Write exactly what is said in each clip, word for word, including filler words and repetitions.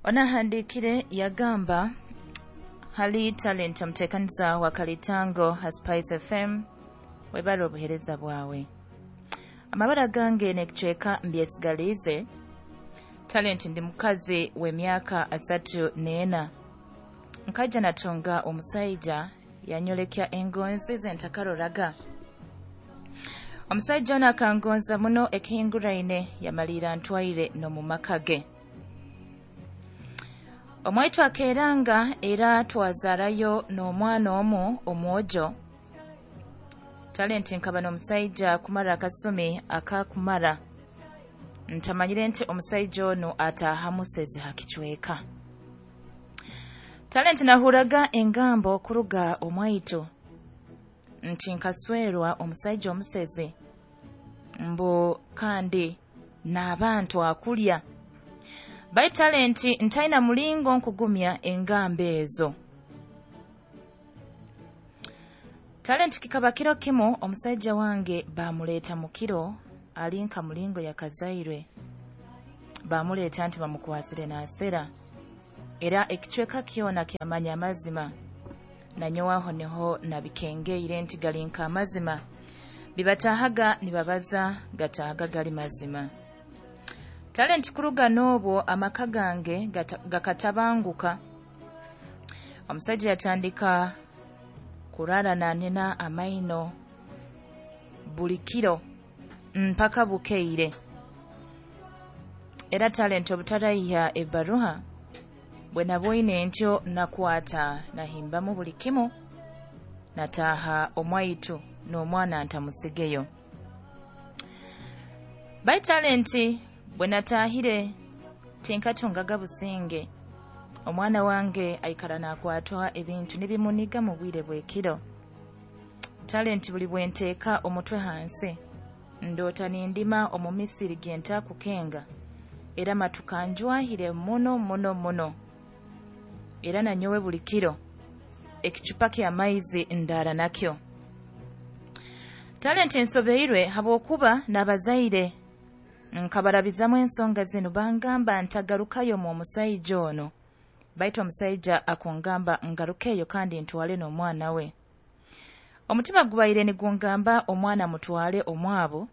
Onahandiikire yagamba hali Talent, omuteekaniza wa Kalitango ha Spice F M, webale obuheereza bwawe. Amabara gange n'ekicweka mbyesigaliize. Talent, ndi mukazi w'emyaka asatu n'ena. Nkaija natunga omusaija yanyolekya engonzi ze ntakaroraga. Omusaija ono akangonza muno ekihinguraine, yamaliira ntwaire n'omu maka ge. Omwaitu akeeranga era twazaarayo n'omwana omu omwojo. Talent, nkaba n'omusaija kumara akasumi akakumara ntamanyire nti omusaija onu ataaha musezi ha kicweka. Talent, nahuraga engambo kuruga omwaitu nti nkaswerwa omusaija omusezi, mbu kandi n'abantu akulya. Baitu Talent, ntaina mulingo nkugumya engambo ezo. Talent, kikaba kiro kimu omusaija wange bamuleeta mu kiro, ali nka mulingo yakazairwe, bamuleeta nti bamukwasire naasera, era ekicweka kyona kyamanya amazima. Nanyowe aho niho nabikengeire nti gali nk'amazima, bibataahaga nibabaza gataahaga gali mazima. Talent, kuruga n'obwo amaka gange gakatabanguka. Omusaija yatandika kurara nanena amaino buli kiro mpaka bukeire. Era Talent, obutaraiha ebbaruha bwe nabwoine ntyo, nakwata nahimbamu buli kimu, nataaha omwaitu n'omwana ntamusigeyo. Baitu Talent, bwe nataahire tinkatungaga businge. Omwana wange aikara nakwatwa ebintu nibimuniga mu bwire bw'ekiro. Talent, buli bwenteeka omutwe hansi ndoota nindima omu misiri gye ntakukenga, era matuka njwahire muno muno muno. Era nanyowe buli kiro ekicupa ky'amaizi ndaara nakyo. Talent, nsobeirwe habwokuba n'abazaire nkabarabizamu ensonga zinu, bangamba ntagarukayo mu omusaija ono, baitu omusaija akungamba ngarukeyo kandi ntwale n'omwana we. Omutima gubaire nigungamba omwana mutwale omwabo,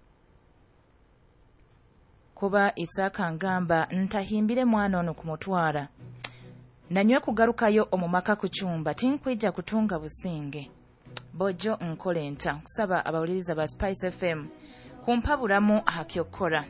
kuba Isaaka ngamba ntahimbire mwana ono kumutwara. Nanywe kugarukayo omu maka kucumba tinkwija kutunga businge. Bojo, nkole nta? Kusaba abawuliriza ba Spice F M kumpaburamu aha kyokukora.